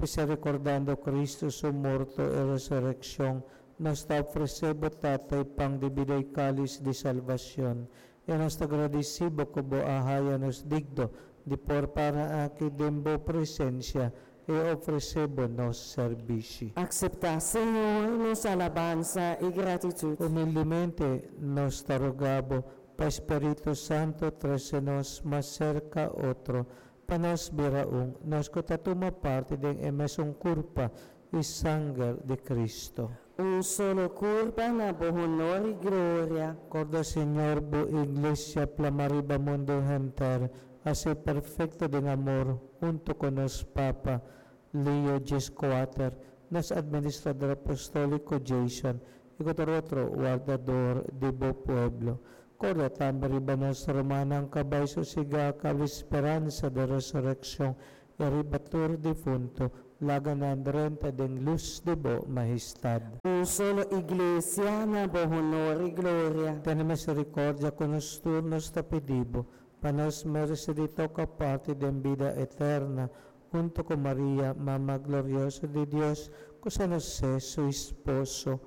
P'esei rekordando Kristu su morto i resurekshon, nos ta ofresé bo, Tata, e pan di bida i kális di salbashon. I nos ta gradisí bo ku bo a haña nos digno di por para aki den bo presensia i ofresé bo nos sèrbishi. Akseptá, Señor, nos alabansa i gratitut. Humildemente nos ta roga bo pa Spiritu Santu trese nos mas serka otro, pa nos bira un, nos ku ta tuma parti den e mesun kurpa i sanger di Kristu. Un solo kurpa na bo honor i gloria. Korda, Señor, bo Iglesia plama riba mundu henter, hasié perfekto den amor, huntu ku nos Papa, Leo 14, nos Administrador Apostóliko Jason, i ku tur otro wardador di bo pueblo. Korda tambe riba nos rumannan ku a bai sosigá kaba speransa di resurekshon, i riba tur difuntu, laga nan drenta den lus di bo Mahestad. Un solo Iglesia na bo honor i gloria. Tene misericordia ku nos tur, nos ta pidi bo, pa nos merese di toka parti den bida eterna, huntu ku Maria, Mama glorioso di Dios, ku San José, su esposo,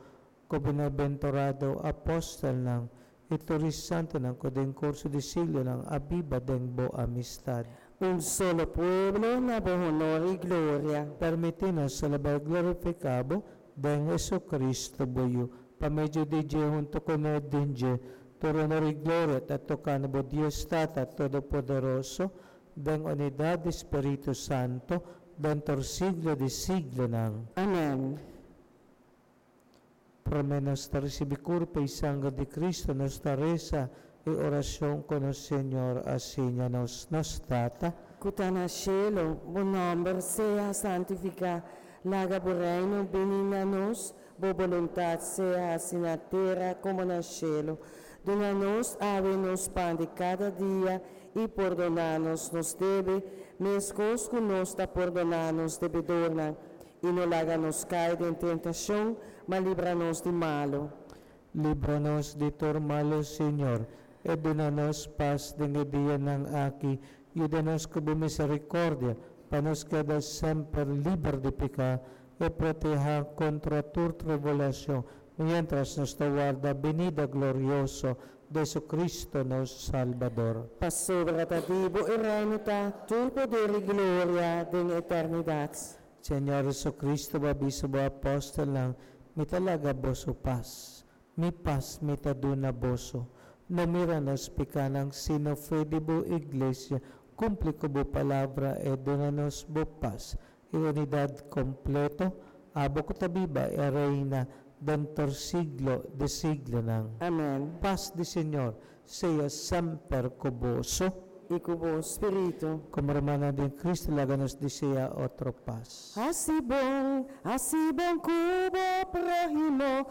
ku bienaventurado apòstelnan i tur e santunan ku den kurso di siglonan a biba den bo amistad. Un solo pueblo na bo honor i gloria. Permití nos selebrá i glorifiká bo den Jesucristo, bo Yu, pa medio di dje, huntu kuné, den dje, tur honor i gloria ta toka na bo Dios Tata Todopoderoso, den unidat di Spiritu Santu, den tur siglo di siglonan. Amèn. Promé nos ta risibí kurpa i sanger di Kristu, nos ta resa e orashon ku nos Señor a siña nos. Nos Tata. Ku ta na shelu, bo nòmber sea santifiká. Laga bo Reino bini na nos, bo boluntat sea hasi na tera komo na shelu. Duna nos awe nos pan di kada dia i pordoná nos nos debe, meskos ku nos ta pordoná nos debedornan. I no laga nos kai den tentashon, ma libra nos di malu. Libra nos di tur malu, Señor, i duna nos pas den e dianan aki. Yuda nos ku bo misericordia, pa nos keda semper liber di piká i protehá kontra tur tribulashon, miéntras nos ta warda binida glorioso di Jesucristo nos Salbador. Pasobra ta di bo e reino ta, tur poder i gloria den eternidat. Señor Jesucristo, bo a bisa bo apòstelnan, Mi ta laga boso pas. Mi pas mi ta duna boso. No mira nos pikánan, sino fe di bo iglesia. Kumpli ku bo palabra i duna nos bo pas i unidat kompleto, abo ku ta biba i reina den tur siglo di siglonan. Amèn. Pas di Señor sea semper ku boso. I ku bo spiritu. Komo rumannan den Cristo, laga nos deseá otro pas. Hasi bon, hasi bon ku bo próhimo.